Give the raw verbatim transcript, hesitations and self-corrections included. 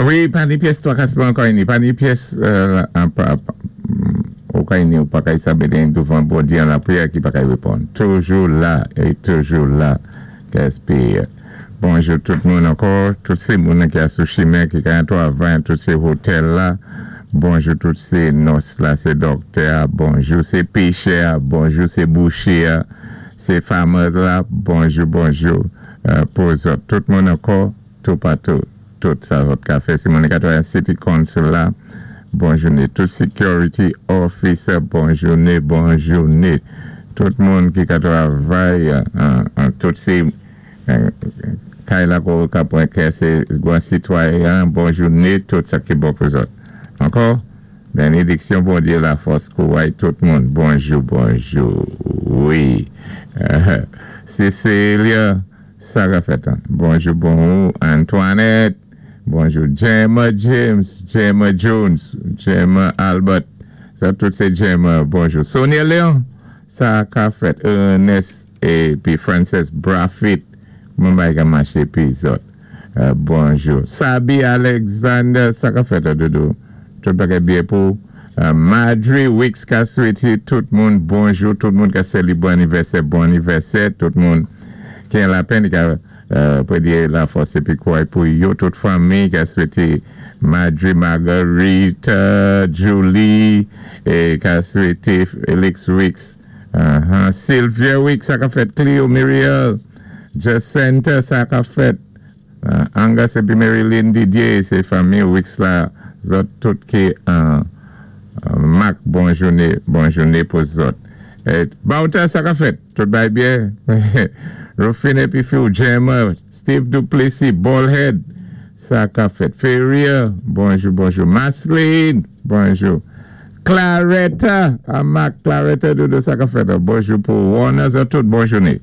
Wi, pa ni pyès twakasman ankò ini, pa ni pyès euh, an, pa, pa, ou ka ini ou pa kay sabé douvan Bondyé an lapriyè ki pa kay wéponn. Toujou la, é toujou la, K S P. Bonjou tout moun ankò, tout sé moun ki a sou chimen, ki ka twavay, tout sé otèl la. Bonjou tout sé nòs la, sé dòktè, bonjou sé péchè, bonjou sé bouché, sé farmer la, bonjou, bonjou euh, pou zòt. Tout moun ankò, tou patou, tout sa zòt ka fè. Sé moun ki twavay City Council la, bon jouné. Tout security officer, bon jouné, bon jouné. Tout moun ki ka twavay, euh, euh, tout sé euh, kay la ko ka pwan kè sé gwan sitwayen, bon jouné, tout sa ki bon pou zòt. Ankò, bénédiksyon Bondyé, lafòs, kouway tout moun. Bonjou, bonjou, wi. Euh, Cécilia, sa ka fèt. Bonjou, bonjou, Antoinette. Bonjou, Gemma James, Gemma Jones, Gemma Albert. Sa tout sé Gemma, bonjou. Sonia Léon, sa ka fèt. Ernest épi Frances Braffit. Mwen bay ka maché pi zòt. Euh, bonjou. Sabi Alexander, sa ka fèt, doudou. Tout bagay byen pou. Euh, Madry Wicks ka swété tout moun bonjou, tout moun ka sélébwé anivèsè, bon anivèsè, tout moun ki an lapenn, ka euh, pou di lafòs épi kouway pou yo, tout fanmi ka swété Madry, Marguerite, Julie, é ka swété Felix Wicks, uh-huh. Sylvia Wicks, sa ka fèt, Cleo Muriel, Jacinta, sa ka fèt, uh, Angus épi Marilyn Didier, sé fanmi Wicks la, zòt tout ki uh, uh, mak bon jouné, bon jouné pou zòt. É, Bauta, sa ka fèt, tout bay byen. Rufine épi Phil Jammer, Steve Duplessis, Ballhead, sa ka fèt. Ferrier, bonjou, bonjou. Masline, bonjou. Claretta, a Mark Claretta, doudou, sa ka fèt. Bonjou pou Warner, zòt tout, bon jouné.